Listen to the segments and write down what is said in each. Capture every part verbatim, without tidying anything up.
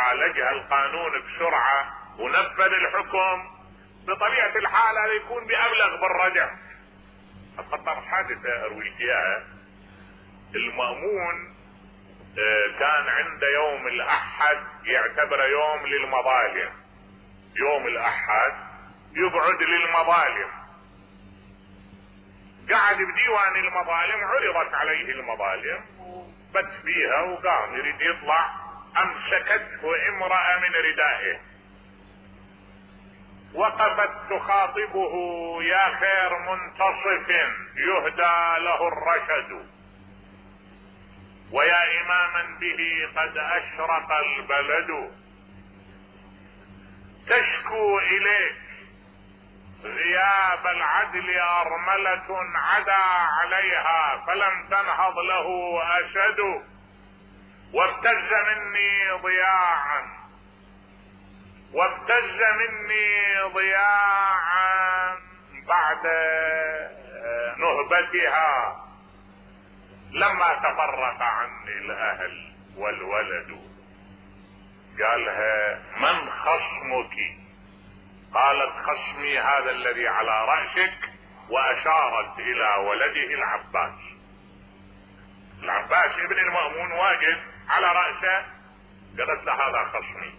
وعالجها القانون بسرعة ونفذ الحكم، بطبيعة الحال هذا يكون بأبلغ بالردع. أتخطر حادثة أرويك إياها. المأمون كان عند يوم الأحد يعتبر يوم للمظالم، يوم الأحد يقعد للمظالم. قعد بديوان المظالم، عرضت عليه المظالم وبت فيها وقام يريد يطلع، أمسكته امرأة من ردائه وقفت تخاطبه: يا خير منتصف يهدى له الرشد، ويا إماما به قد أشرق البلد، تشكو إليك غياب العدل أرملة عدا عليها فلم تنهض له أسد، وابتز مني ضياعا وابتز مني ضياعا بعد نهبتها لما تفرق عني الأهل والولد. قالها: من خصمك؟ قالت: خصمي هذا الذي على رأسك، وأشارت إلى ولده العباس. العباس ابن المأمون واقف على رأسه. قالت له: هذا خصمي.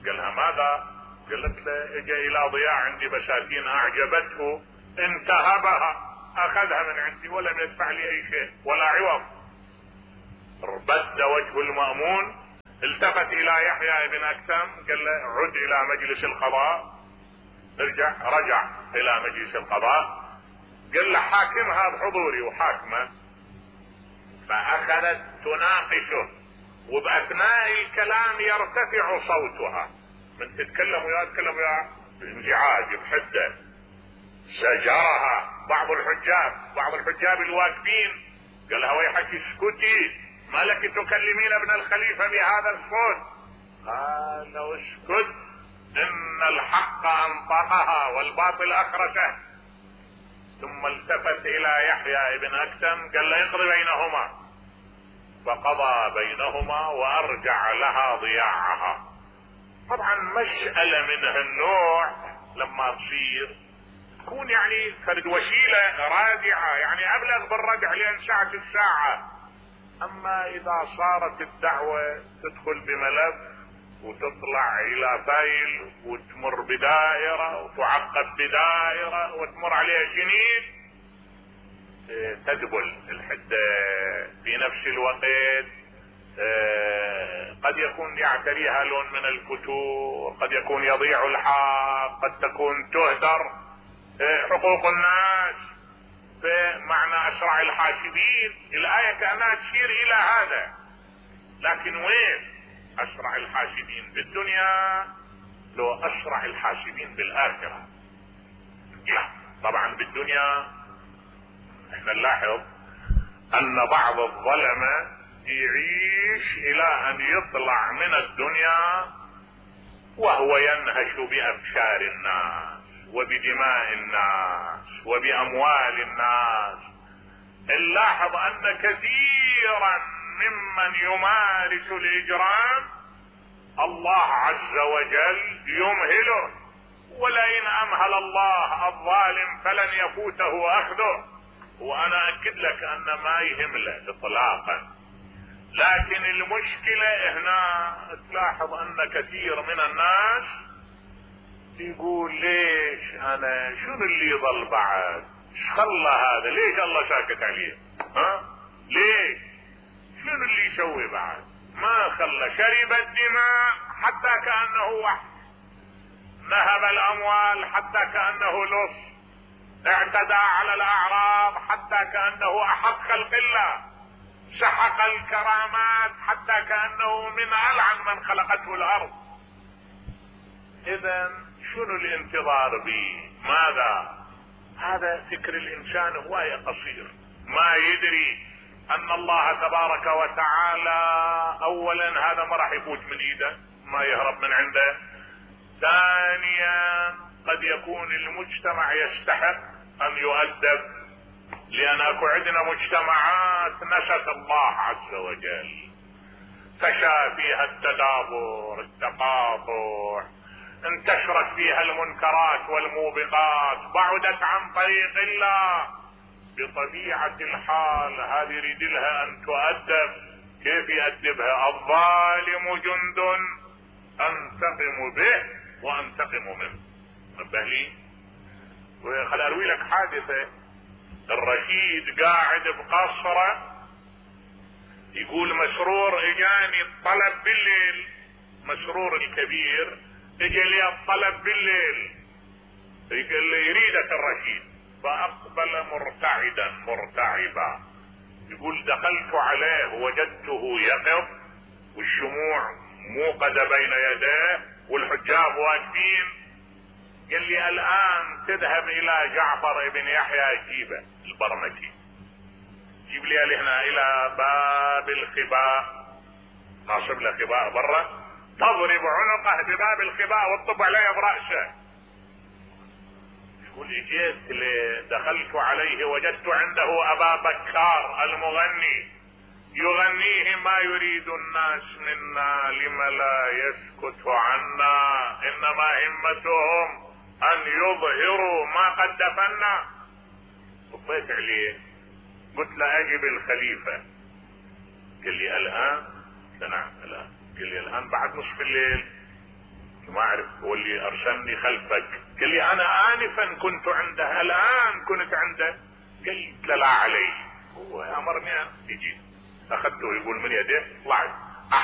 قالها: ماذا؟ قالت له: اجى إلى ضياع عندي بساتين أعجبته، انتهبها، أخذها من عندي ولم يدفع لي أي شيء ولا عوض. اربد وجه المأمون، التفت الى يحيى بن اكثم قال له: عد الى مجلس القضاء. ارجع رجع الى مجلس القضاء، قال له: حاكمها بحضوري، وحاكمه. فاخذت تناقشه، وباثناء الكلام يرتفع صوتها، من تتكلم ويا تتكلم ويا بانزعاج بحده. زجرها بعض الحجاب بعض الحجاب الواقفين، قال لها: ويحك اسكتي، ما لك تكلمين ابن الخليفة بهذا الصوت؟ قال: اسكت، ان الحق انطقها والباطل اخرسه. ثم التفت الى يحيى بن اكثم قال له: اقضي بينهما. فقضى بينهما وارجع لها ضياعها. طبعا مسألة من هالنوع لما تصير تكون يعني فرد وسيلة رادعة، يعني ابلغ بالردع لان ساعة الساعة. اما اذا صارت الدعوة تدخل بملف وتطلع الى فايل وتمر بدائرة وتعقب بدائرة وتمر عليها سنين، تدبل الحدة. في نفس الوقت قد يكون يعتريها لون من الفتور، قد يكون يضيع الحق، قد تكون تهدر حقوق الناس. فمعنى اسرع الحاسبين، الآية كأنها تشير الى هذا. لكن وين اسرع الحاسبين بالدنيا؟ لو اسرع الحاسبين بالاخرة. لا، طبعا بالدنيا احنا نلاحظ ان بعض الظلمة يعيش الى ان يطلع من الدنيا وهو ينهش بأبشار الناس وبدماء الناس وبأموال الناس. نلاحظ ان كثيرا ممن يمارس الاجرام الله عز وجل يمهله، ولئن امهل الله الظالم فلن يفوته اخذه. وانا اكد لك ان ما يهمله اطلاقا. لكن المشكلة هنا تلاحظ ان كثير من الناس يقول: ليش انا شنو اللي يضل بعد؟ خلى هذا، ليش الله ساكت عليه؟ ها؟ ليش؟ شنو اللي يسوي بعد؟ ما خلى، شرب الدماء حتى كأنه وحش، نهب الاموال حتى كأنه لص، اعتدى على الاعراض حتى كأنه احق خلق الله، سحق الكرامات حتى كأنه من ألعن من خلقته الارض. اذا شنو الانتظار به؟ ماذا؟ هذا فكر الانسان هواية قصير، ما يدري ان الله تبارك وتعالى اولا هذا ما راح يفوت من ايده، ما يهرب من عنده. ثانيا قد يكون المجتمع يستحق ان يؤدب، لان اكو عندنا مجتمعات نست الله عز وجل. فشى فيها التدابر التقاطع، انتشرت فيها المنكرات والموبقات، بعدت عن طريق الله. بطبيعة الحال هذه يريد لها ان تؤدب. كيف يؤدبها؟ الظالم جند انتقم به وانتقم منه. نبه لي وخل اروي لك حادثة. الرشيد قاعد بقصره، يقول مسرور اجاني الطلب بالليل، مسرور الكبير اجى لي الطلب بالليل، يقول لي يريدك الرشيد. فاقبل مرتعدا مرتعبا، يقول دخلت عليه وجدته يقظ والشموع موقدة بين يديه والحجاب واقفين. قال لي الان تذهب الى جعفر بن يحيى جيبه البرمكي، جيب لي هنا الى باب الخباء، ناصب له خباء برا، تضرب عنقه بباب الخباء وتطب عليه برأسه. يقول جيت دخلت عليه وجدت عنده ابا بكار المغني يغنيه ما يريد الناس منا لم لا يسكت عنا، انما همتهم ان يظهروا ما قد دفنا. طبيت عليه قلت له اجب الخليفة. قال لي الان؟ قلت نعم الان. قال لي الان بعد نصف الليل؟ ما اعرف، هو اللي ارسلني خلفك. قال لي انا انفا كنت عنده، الان كنت عنده. قلت لا علي، هو امرني اجي. اخذته يقول من يده طلعت